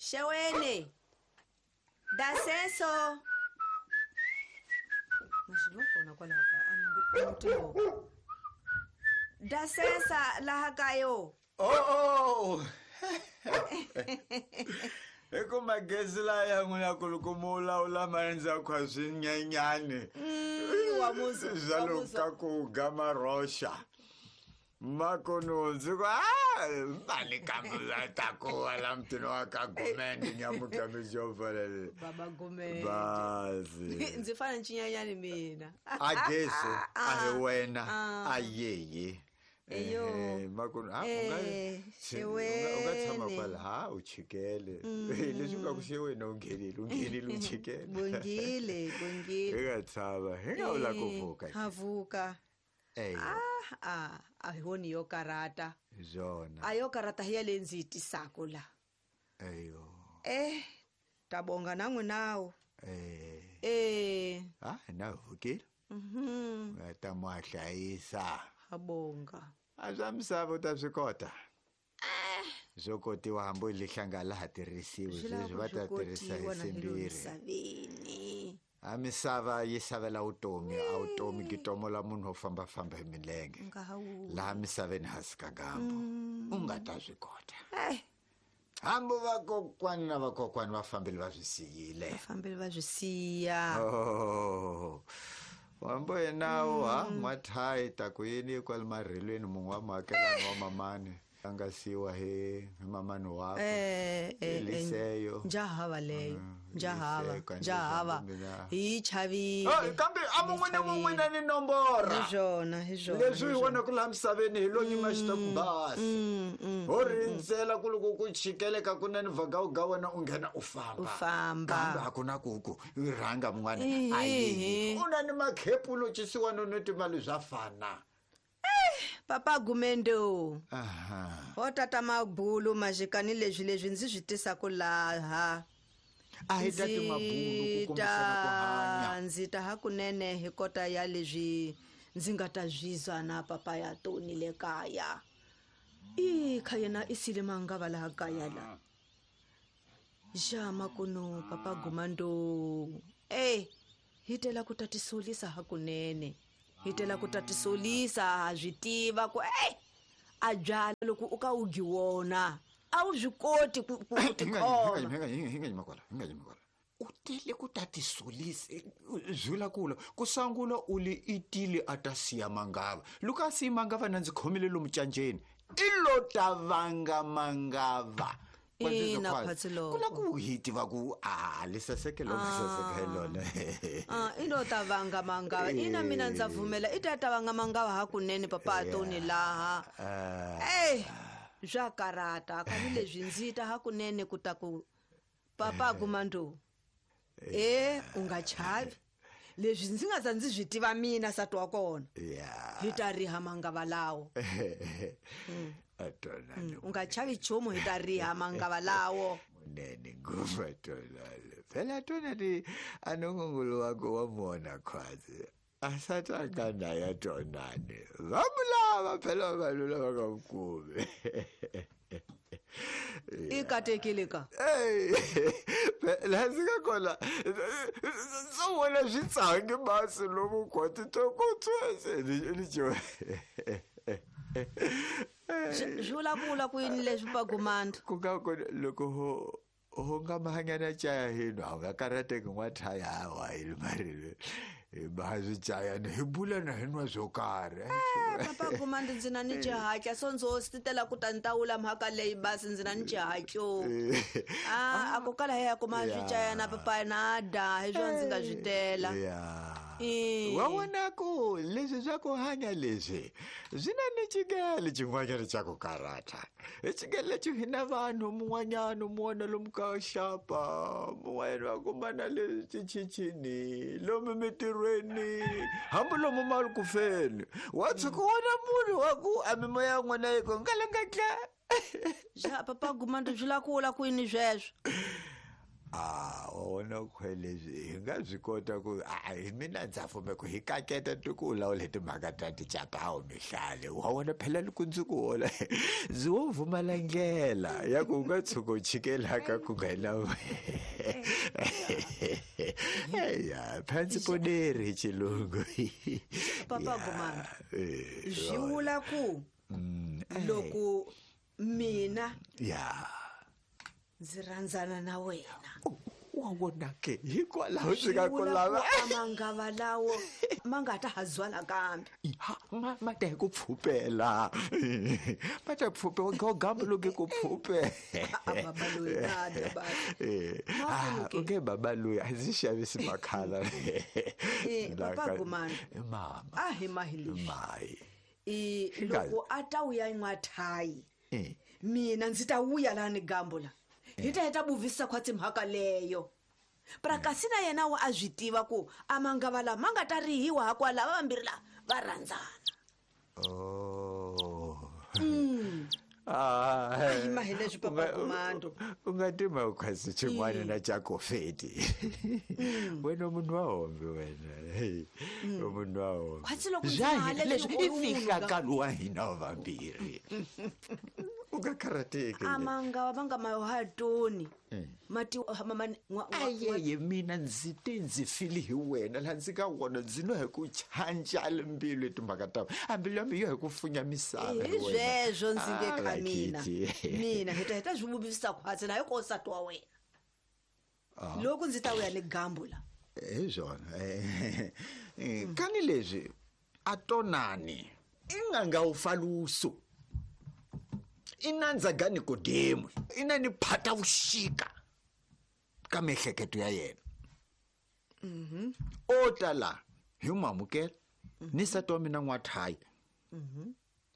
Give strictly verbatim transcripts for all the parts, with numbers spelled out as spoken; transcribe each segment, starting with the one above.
Xeweni. Dasenso. Mashivo kona kwalaha ka a ni Dasensa laha kayo. Oh oh. Eko magezi laya n'wina kulukumula ula maendza kwa swinyenyani. Mm, wa muzi. Zalo ka ku gama rosha. Makono nzi ku ah mali kambula tako wala mtino wa ka Gumende nyamuka mijovalele. Baba Gumende. Bazi. Ndzi fana nchinyenyani mina. Ageso a hi wena a yeye. Eyo. Eh, makono ha u nga u nga tshama kwala ha u chikele. Leswi nga ku xewena u nghenile u nghenile u chikele. Bongile, bongile. Hi nga tshama, hi nga vula ku vuka. Ha vuka. Eyo. Ah, ah, a hi woni yo karata. Zona. A yo karata hi ya leyi ndzi yi tisaka la. Eyo. Eh, ta bonga na n'winawo. Eh. Eh. Ah, na vukile. Mhm. Ta mo hlayisa. Ha bonga. A swa misava u ta swi kota. Swo kotiwa hambi lihlanga laha tirhisiwi sweswi va ta tirhisa hi simbirhi. A misava yi savela vutomi, a vutomi gitomo la munhu wo fambafamba hi milenge. Laha misaveni hansi ka gambo. U nga ta swi kota. Eh. Hambi vakokwani na vakokwani va fambile va swi siyile. Va fambile va swi siya. Oh. Wambo yenawo ha n'wathayi ta ku yini kwale marhelweni mun'we wa muakelani wa mamani a nga siwa hi hi mamani wakwe. Eh, eh, Liseyo. Njahava leyo. Njahava. Liseko, Njahava. mina. Hi chavile. Oh, kambe a mun'we ni mun'we na ni nombora. Hi swona, hi swona. Leswi hi vonaka laha misaveni hi lo nyima xitaku basi. Mm, mm, Ho rindzela ku loko ku chikeleka ku na ni vhagawuga wena u nghena u famba. U famba. Kambe a ku na ku ku rhanga mun'wana Ehe. a yi. U na ni makhepulo xisiwana no timali swa fana. Papa Gumendo. Aha. Ho tata mabulu majikani leswi leswi ndzi swi tisaka laha. A hi tati mabulu ku kombisana ku hanya. Ndzi ta hakunene hi kota ya leswi ndzi nga ta zwizwa na papa ya Tony le kaya. I kha yena i sile mangava laha kaya la. Ja makuno papa Gumando. Eh, hi tela ku ta tisolisa hakunene. Hi tela ku ta tisolisa ha swi tiva ku eh a byala loko u ka u gi wona. A wu swi koti ku ku Hi nga tikhoma. hi nga hi nga yima kwala, hi nga yima kwala. U tele ku ta tisolisa zwula kula ku sangula u li itile a ta siya mangava. Loko a siya mangava na ndzi khomile lomu canjeni. I lo ta vanga mangava. Ina, Phatsiloko. Ku la ku hi tiva ku a li saseke lo nga saseka hi lona. Ah, i lo ta vanga mangava. Ina mina ndza pfumela i ta ta vanga mangava hakunene papa Tony laha. Eh, swa karata kani leswi ndzi ta hakunene ku ta ku papa Gumando. Eh, u nga chavi. Leswi ndzi nga za ndzi swi tiva mina nsati wa kona. Yeah. Hi ta riha mangava lawo. Atonani. U nga chavi nchumu hi ta riha mangava lawo. Munene ngopfu Atonani. Phela Atonani a nongongolo wako wa mona khwazi. A sataka naye Atonani. Va mu lava phela vanhu lava nga n'wi kumi. I katekile ka. Ey, laha ndzi nga kona swo vona swi tsangi masi lomu khwati to ku tswese ni ni Swi vula ku vula ku yini leswi pa Gumando? Ku nga ku loko ho ho nga mahanyana caya hino a nga karhateki n'wathaya hawa hi marile hi maha swichayana hi bula na hi nwa swo karhi. Eh, papa Gumando ndzi na ni xihatla so ndzo swi tela ku ta ni ta wula mhaka leyi basi ndzi na ni xihatlo. Ah, a ku kala hi ya kuma swichayana papa na da hi swona ndzi nga swi tela. Yeah. Eh. Wa vona ku leswi swa ku hanya leswi swi na ni xikele xin'wanyana xa ku karhata. I xikele lexi hi na vanhu mun'wanyana mu vona lomu ka xapa mun'wanyana va kuma na le tichichini lomu mitirhweni hambi lomu mali ku feni wa tshuka wona munhu wa ku a mimoya ya n'wina yi ku ngalangatla. Ja papa Gumando swi la ku vula ku yini sweswo? A wona khwelezi hi nga byi kota ku a hi mina ndza pfume ku hi kaketa ti ku lawula timhaka ta ticapawu mihlale wa wona phela loko ndzi ku hola ndzi wo vumala ndlela ya ku u nga tshuka u chikelaka ku nga na ya phansi poneri hi xilungu. Papa Gumani, swi vula ku loko mina ya ndzi rhandzana na wena wa vona ke hikwalaho swi nga ku lava a mangava lawo ma nga ta ha zwala kambe ha ma ma ta hi ku pfupela ma ta pfupe wa gambo loke ku pfupe. A baba loyi a dya ba. Ah, okay baba loyi a ndzi xavisi makhala. Eh, Papa Gumani, mama a hi mahi leswi mai i loko a ta wuya n'wathayi eh mina ndzi ta wuya laha ni gambo la hi ta heta buvisa khwatsi mhaka leyo pra kasi na yena wa a swi tiva ku a mangava lama ma nga ta rihiwa hakwala va vambirhi la va rhandzana. Oh. Ah, A hi mahi leswi, Papa u nga- Gumando. u nga tima ukhwasi xin'wana na xa kofeti. Wena munhu wa hombe wena. Hey, u munhu wa hombe. Khwatsi loko ndzi Bya nga ha hina leswi leswi i u ri munhu fihlakalo wa hina wa vambirhi. U nga karhateki. A mangava va nga mahatoni mati ma- ma- n'wa- n'wa- Ayeye mina ndzi te ndzi fili hi wena laha ndzi nga wona ndzi no hi ku chanjala mbilu hi timhaka ta a mbilu ya mina yo hi ku funya misava hi hi wena. sweswo ndzi nge Ah, ka mina Kitty. mina hi ta hi ta swi vuvisa khwatsi na hi ko nsati wa wena loko ndzi ta wuya ni gambo la. Hi swona. Eh, kani leswi a tonani i nganga wu faluso i nandza ga Nikodemu i na ni phata vuxika ka miehleketo ya yena. O ta la hi n'wi amukela ni nsati wa mina n'wathayi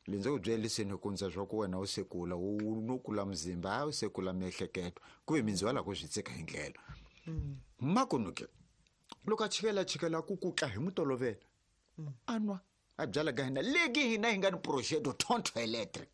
le ndzi ku byeliseni ku ndza swa ku wena u sekula u no kula muzimba a u sekula miehleketo ku ve mindzi wa la ku swi tsika hi ndlela makunu ke loko a chikela chikela ku kutla hi mutolovela a nwa a byala ka hina leki hina hi nga ni projeto tonto electric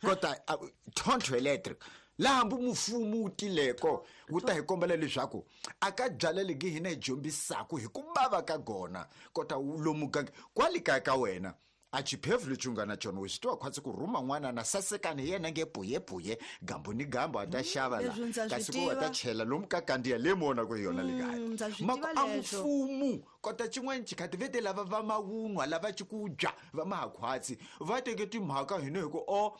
kota a- tonto electric laha hambi mufumo wu tileko wu ta hi kombela leswaku a ka byala leki hina hi dyombisaku hi ku bava ka gona kota wu lomu gange kwale kaya ka wena a xiphefu lexi u nga na xona u swi tiva khwatsi ku rhuma n'wana na sasekani hi yena nge puyepuye gambo ni gambo a ta xava la leswi ndza swi kasi ku va ta tiva. chela lomu ka kandziya le mi vonaka hi yona le kaya Mm, ndza swi Mako tiva a leswo. mfumo kota xin'wana xikhati vete lava va mavunwa lava cikudya va mahakhwatsi va teke timhaka hina hi ku o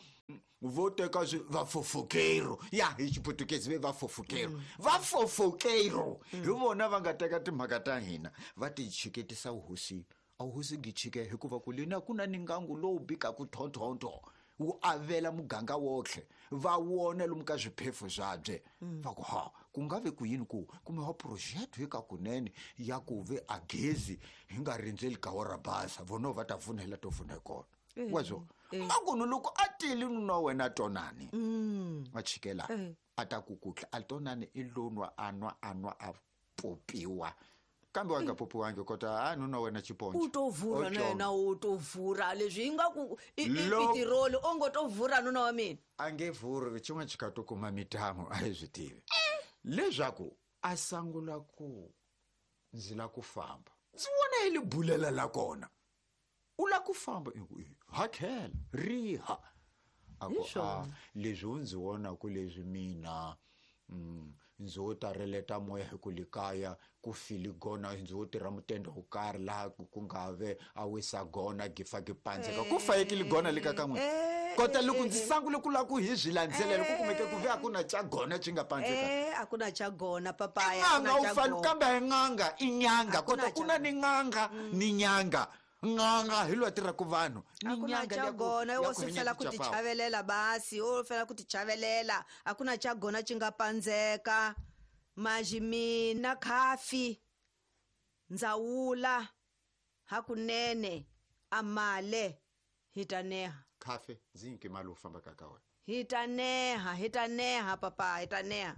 vo teka swi vafofokero ya hi xiputukezi ve vafofokero vafofokero hi vona va nga teka timhaka ta hina va ti chiketisa vuhosini a vuhosi byi chike hikuva ku lina ku na ni ngangu lowu bikaku thonthonto wu avela muganga wotlhe va wona lomu ka swiphefu swabye va ku ha ku nga ve ku yini ku kumiwa project hi ka kunene ya ku ve a gezi hi nga rindzeli gawa ra basa vona va ta pfunela to pfuna hi kona wa swo makunu loko a tile nuna wa wena tonani a chikela a ta ku kutla a tonani i lonwa a nwa a nwa a popiwa kambe wa nga popiwangi kota a nuna wa wena xipondzo U to vurha na yena u to vurha leswi ingaku i i Loko- pitiroli o ngo to vurha nuna wa mina. A nge vuri xin'wana xi kha to kuma mitamo a hi swi tivi leswaku a sangula ku ndzi la ku famba ndzi vona hi li bulela la kona u la ku famba i ku, "Eh, hakela riha a ku a leswi u ndzi vonaku leswi mina mm, ndzi wo ta releta moya hi ku le kaya ku fili gona ndzi wo tirha mutende wo karhi laha ku ku nga ve a wisa gona gifa gi pandzeka ku fayekile gona le ka ka n'wina kota loko ndzi sangule ku lava ku hi swi landzelela ku kumeke ku ve a ku na xa gona xi nga pandzeka. Eh, a ku na xa gona papaya a ku N'anga na u xa fani gona. kambe a hi n'anga i nyanga A ku na kota ku na xa ni n'anga ni nyanga n'anga hi loyi a tirhaka vanhu ni A ku na nyanga xa liya ku- gona ya wo ku se hanya fela ku tichapawu. tichavelela basi wo fela ku tichavelela a ku na xa gona xi nga pandzeka maji mina khafi ndzawula hakunene a male hi ta neha. Khafe ndzi nyike mali u fambaka ka wena. Hi ta neha hi ta neha papa hi ta neha.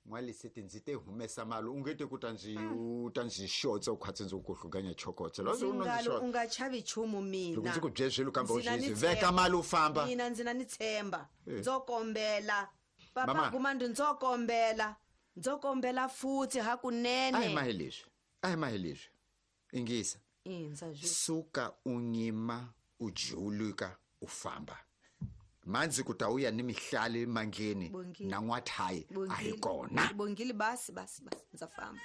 N'waliseti ndzi te humesa mali u nge te ku ta ndzi u ta ndzi xotsa u khwatsi ndzi ku hluganya chokotse Ndzi ngalo u nga chavi nchumu mina. Loko ndzi ku byele swilo kambe u Ndzi na swi ni veka tshemba. mali u famba. Mina ndzi na ni tshemba Eh. ndzo kombela papa Mama. Gumandi ndzo kombela Ndzo kombela futhi A hi hakunene. mahi leswi, a hi mahi leswi. Ingisa. Indza zwi. Suka u nyima u jiuluka u famba. Mandzi ku ta uya ni mihlali mandleni Bongile. na n'wathayi a hi Bongile. kona. Bongile basi basi basi ndza famba.